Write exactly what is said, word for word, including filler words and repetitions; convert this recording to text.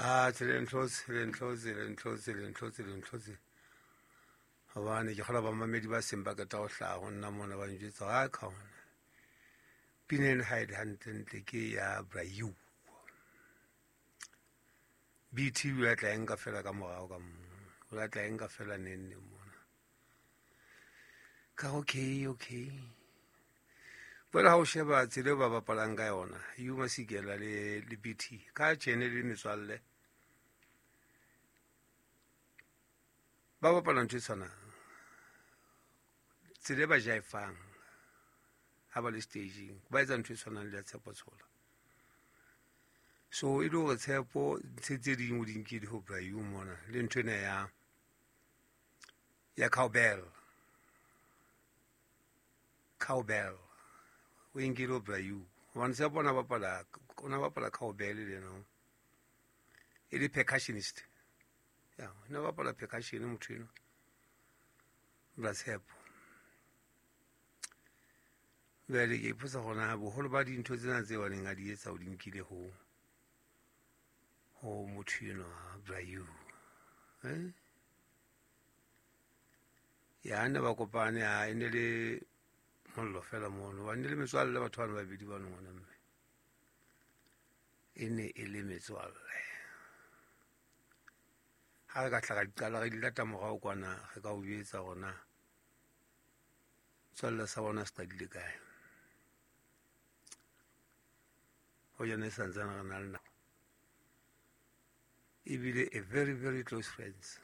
Ah, le ntlotse, le ntlotse, le ntlotse, le ntlotse, le ntlotse. Hobane ke kgola bamamedi ba seng ba qeta ho hlaha ho nna mona ba njwetsa ha ka hona. Pina ena ha e le hantlentle ke ya Brayu. B T o tla enka fela ka morao ka mo. O tla enka fela neng neng mona. Ka okay, okay. Jwale ha o sheba tsela eo ba bapalang ka yona, Hugh Masekela le le B T ka tjene le metswalle. Ba bapala ntho e tshwanang. Tsela e ba jaefang ha ba le staging, ba etsa ntho e tshwanang le ya Tshepo Tshola. So e le hore Tshepo ntho tse ding o di nkile ho Brayu mona le ntho ena ya ya cowbell. Cowbell. O e nkile ho Brayu. Hobane Tshepo o na bapala, o na bapala cowbell le yena. E le percussionist. Ya, o na bapala percussion motho eno. Bra Tshepo. Jwale ke ipotsa hore na boholo ba dintho tsena tseo a neng a di etsa o di nkile ho ho motho enwa Brayu. Eh? Ya ne ba kopane a e ne le mollo fela mono. Ba ne le metswalle batho bana ba babedi bano ngwana mme. E ne e le metswalle. Ha re ka hla ra di qala re di lata morao kwana re ka o jwetsa hore na setswalle sa bona se qadile kae. Hoja ne santsane re na le nako. Ebile a very, very close friends.